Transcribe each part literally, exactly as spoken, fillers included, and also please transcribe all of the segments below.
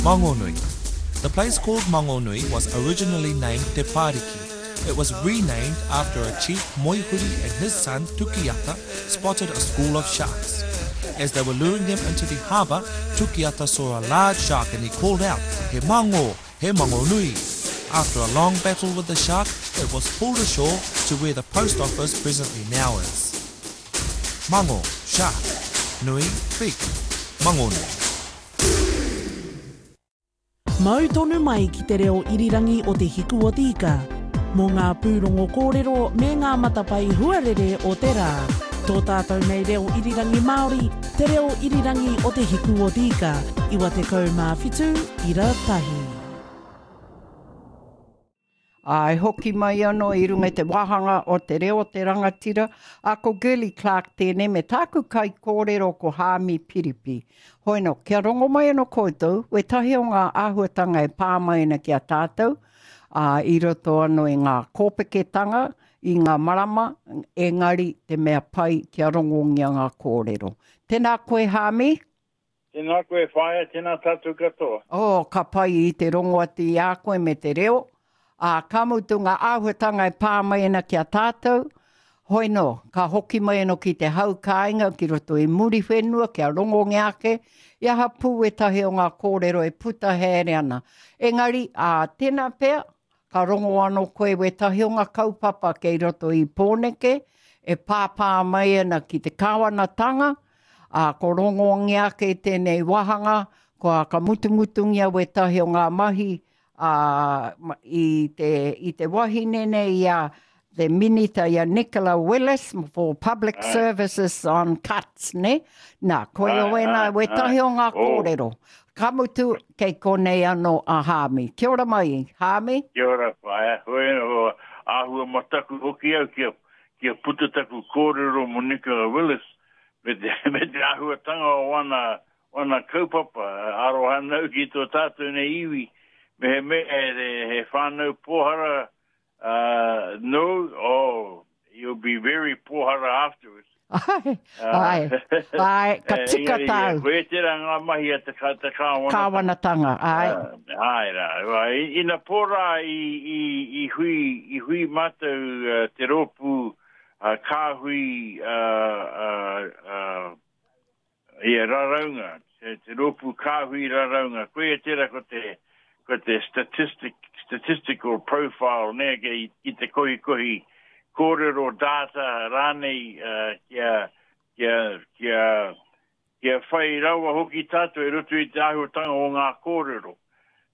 Mangonui. The place called Mangonui was originally named Te Pariki. It was renamed after a chief Moihuri and his son Tukiata spotted a school of sharks. As they were luring them into the harbour, Tukiata saw a large shark and he called out, He mango, he mangonui. After a long battle with the shark, it was pulled ashore to where the post office presently now is. Mango, shark, nui, big, mangonui. Mau tonu mai ki te reo irirangi o Te Hiku o Te Ika. Mō ngā pūrongo kōrero me ngā matapae huarere o te rā. Tō tātou nei reo irirangi Māori, te reo irirangi o Te Hiku o Te Ika, iwa tekau mā whitu, ira tahi. Ā, e hoki mai anō i runga i te wāhanga o te reo o te rangatira, a ko Girlie Clark tēnei me tāku kai kōrero ko Haami Piripi. Hoeno, kia rongo mai anō koutou, wetahi o ngā āhuatanga e pā mai ana ki a tātou, ā, i roto anō i ngā kōpeketanga, i ngā marama, engari te mea pai kia rongongia ngā kōrero. Tēnā koe, Haami? Tēnā koe, whaea, tēnā tātou katoa. Oh, ka pai i te rongo atu i a koe me te reo. Ā, ka mutu ngā āhuatanga e pā mai ana ki a tātou, hoi no, ka hoki mai anō ki te hau kāinga, ki roto i muri whenua, kia rongongia ake, i aha pū ētahi o ngā kōrero e puta haere ana. Engari, ā, tēnā pea, ka rongo anō koe wētahi o ngā kaupapa kei roto i Pōneke, e pāpā mai ana ki te kāwanatanga, ā, ko rongongia ake tēnei wāhanga, kua ka mutumutungia wētahi o ngā mahi, Uh, i te, i te wahine nei i a te minita i a Nicola Willis for Public Ai. Services on Cuts, ne? Nā, koe Ai, o wēnā, ai, wētahi ai. o ngā Oh. kōrero. Ka mutu, kei konei anō a Haami. Kia ora mai, Haami. Kia ora, whaea. Hoi, o, āhua mataku hoki au kia, kia puta taku kōrero mo Nicola Willis me te, me te āhuatanga o wana, wana kaupapa, aroha nau ki tō tātou nei iwi. Me he mea he, he whānau pōhara, uh, no, oh, you'll be very pōhara afterwards. Ai, ai, ai, ka tika Engari, tāu. Koe tērā ngā mahi a te, ka, te kāwanatanga. Kāwanatanga, ai. Uh, ai rā. Ai, ina pōrā i, i, i hui, i hui mātou uh, te rōpū uh, kāhui uh, uh, uh, ia raraunga, te, te rōpū kāhui raraunga. Koe tērā ko te, ko te statistic, statistical profile ne, ki, ki te kohi kohi kōrero data rānei uh, kia, kia, kia, kia whai rawa hoki tātou e roto i te āhuatanga o ngā kōrero.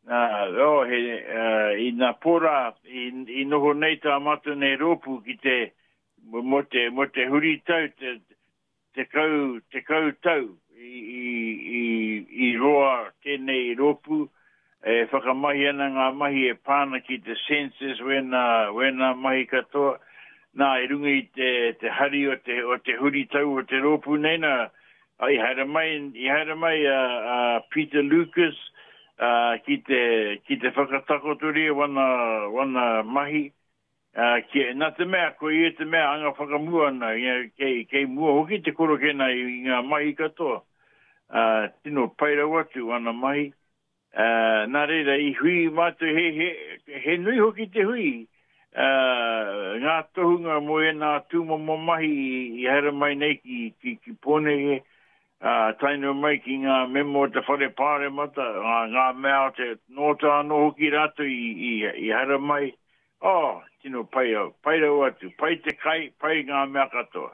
Nā, oh, he, uh, i nā pōrā, i, i noho nei tā mātou nei rōpū ki te, mo te, mo te huritau, te, te kau, te kau tau i, i, i, i roa tēnei rōpū, e whakamahi ana ngā mahi e pāna ki te census, wēnā, wēnā mahi katoa. Nā, i runga i te, te hari o te, o te huritau o te rōpū nei nā, i haere mai, i haere mai a, a Peter Lucas a, ki te, ki te whakatakotoria wana, wana mahi. Uh, ki, nā te mea, ko ia te mea anga whakamua ana, ia, kei, kei mua hoki te korokena i, i ngā mahi katoa. Uh, tino pai rawa atu wana mahi. Uh, nā reira, i hui mātou he, he, he nui hoki te hui. Uh, ngā tohunga mō e nā tūmomo mahi i, i haere mai nei ki, ki, ki Pōneke, uh, tae noa mai ki ngā memo o te whare pāremata, ngā, ngā mea o te nōta anō hoki rātou i, i, i haere mai. Oh, tino pai au, pai rawa atu, pai te kai, pai ngā mea katoa.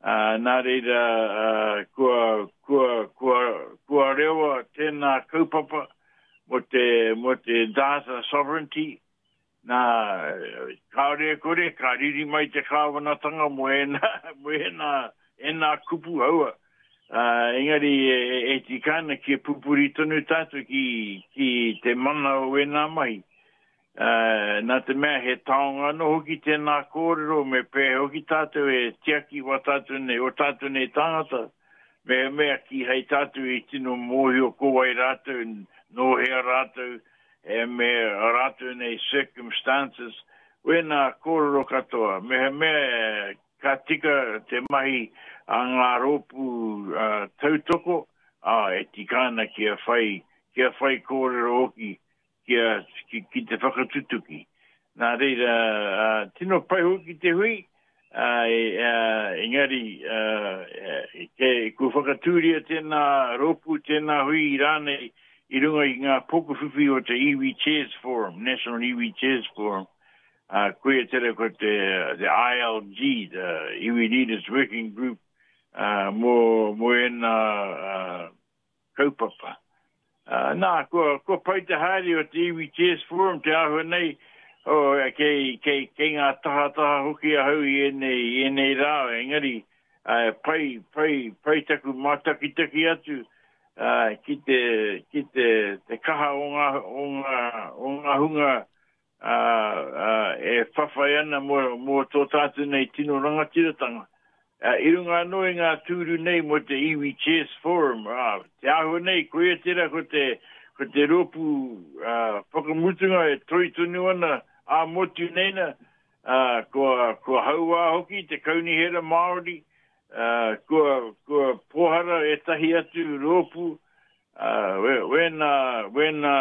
Uh, nā reira, uh, kua, kua, kua, kua rewa tēnā kaupapa mo te, mo te data sovereignty. Nā, kāore e kore, ka riri mai te kāwanatanga mo ēnā, mo ēnā, ēnā kupu haua. Uh, engari e, e, e tika ana kia pupuri tonu tātou ki, ki te mana o ēnā mahi. Uh, nā te mea he taonga anō hoki tēnā kōrero, me pēhea hoki tātou e tiaki wa tātou nei, o tātou nei tāngata. Me mea ki hei tātou i tino mōhio ko wai rātou, nō hea rātou, e me rātou nei circumstances, wēnā kōrero katoa. Me he mea ka tika te mahi a ngā rōpū uh, tautoko, a, e tika ana kia whai, kia whai kōrero hoki, kia, ki, ki te whakatutuki. Nā reira, uh, tino pai hoki te hui, uh, uh, engari, uh, ke, ku whakatūria tēnā rōpū, tēnā hui rānei, i runga i ngā pokuwhiwhi o te Iwi Chairs Forum, National Iwi Chairs Forum, uh, koia tere ko te, the I L G, the Iwi Leaders Working Group, uh, mō, mō ena uh, kaupapa. Uh, nā, kua, kua pai te haere o te Iwi Chairs Forum, te āhua nei, oh, kei, kei, kei ngā tahataha hoki ahau i ēnei, i ēnei rā, engari, uh, pai, pai, pai taku mātakitaki atu, Uh, ki te, ki te, te kaha o ngā, o ngā, o ngā hunga uh, uh, e whawhai ana mō, mō tō tātou nei tino rangatiratanga. Uh, i runga anō i ngā tūru nei mō te Iwi Chairs Forum. Uh, te āhua nei, koia tērā ko te, ko te rōpū uh, whakamutunga e toi tonu ana ā motu neina, uh, kua, kua hauā hoki te kaunihera Māori, Uh, kua, kua pōhara e tahi atu rōpū, uh, wēnā, wēnā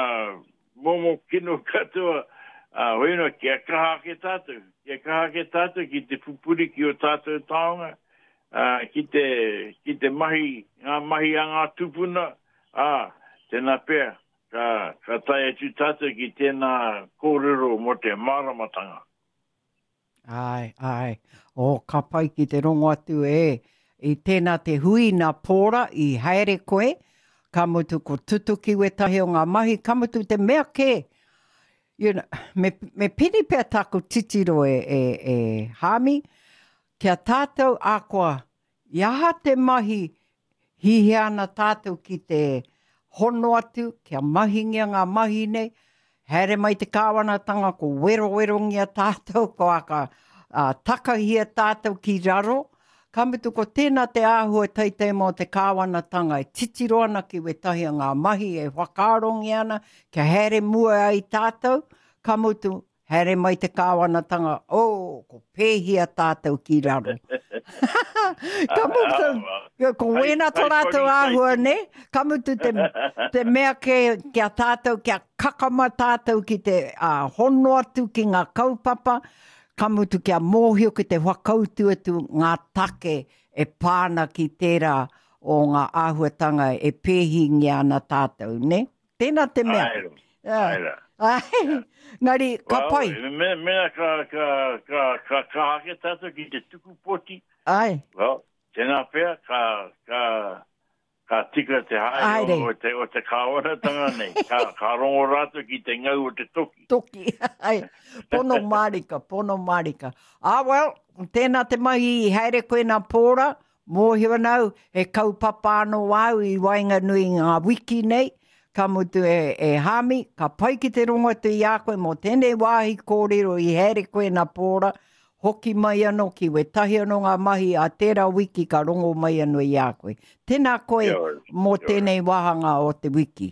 momo kino katoa, uh, wēnā kia kaha ake tātou, kia kaha ake tātou ki te pupuri ki o tātou taonga, uh, ki te, ki te mahi, ngā mahi a ngā tūpuna, ā, tēnā pea, ka, ka tae atu tātou ki tēnā kōrero mō te māramatanga. Ai, ai. O, ka pai ki te rongo atu e. I tēnā te hui nā pōra i haere koe, ka mutu ko tutuki wetahi o ngā mahi, ka mutu te mea kē. You know, me, me pini pea taku titiro e, e, e Hami, kia tātou akoa, i aha te mahi hihia ana tātou ki te hono atu, kia mahingia ngā mahi nei, haere mai te kāwanatanga ko werowerongia tātou, ko aka uh, takahia tātou ki raro. Ka mutu ko tēnā te āhua teitei mō te kāwanatanga e titiro ana ki wetahi a ngā mahi e whakaarongia ana, kia haere mua ai tātou, ka mutu haere mai te kāwanatanga, oh, ko pēhia tātou ki raro. Ka mutu, ko wēnā tō rātou āhua, ne? Ka mutu te, te mea ke, kia tātou, kia kakama tātou ki te uh, hono atu ki ngā kaupapa, ka mutu kia mōhio ki te whakautu atu ngā take e pāna ki tērā o ngā āhuatanga e pēhingia ana tātou, ne? Tēnā te mea. Aira. Ai, ngari, ka pai. Well, me, mea ka, ka, ka, ka, ka hake tātou ki te tuku poti. Ai. Well, tēnā pea, ka, ka, ka tika te haere o, o te, o te kāwanatanga nei. Ka, ka rongo rātou ki te ngau o te toki. Toki, ai. Pono mārika, pono mārika. Ah, well, tēnā te mahi i haere koe nā pōra, mōhio ana au, he kaupapa anō au i waenganui ngā wiki nei, ka mutu e, e Hami, ka pai ki te rongo atu i a koe mō tēnei wāhi kōrero i haere koe nā pōra, hoki mai anō ki wetahi anō ngā mahi a tērā wiki ka rongo mai anō i a koe. Tēnā koe mō tēnei wāhanga o te wiki.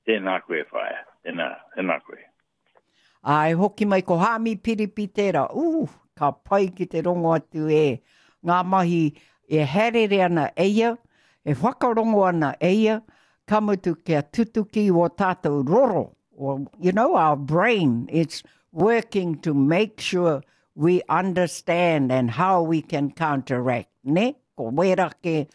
Tēnā koe, whaea. Tēnā, tēnā koe. Ai, hoki mai ko Hami Piripi tērā. Ū, ka pai ki te rongo atu e ngā mahi e haerere ana e ia, e whakarongo ana e ia, ka mutu kia tutuki o tātou roro. Or, you know, our brain, it's working to make sure we understand and how we can counteract, ne? Ko wera ke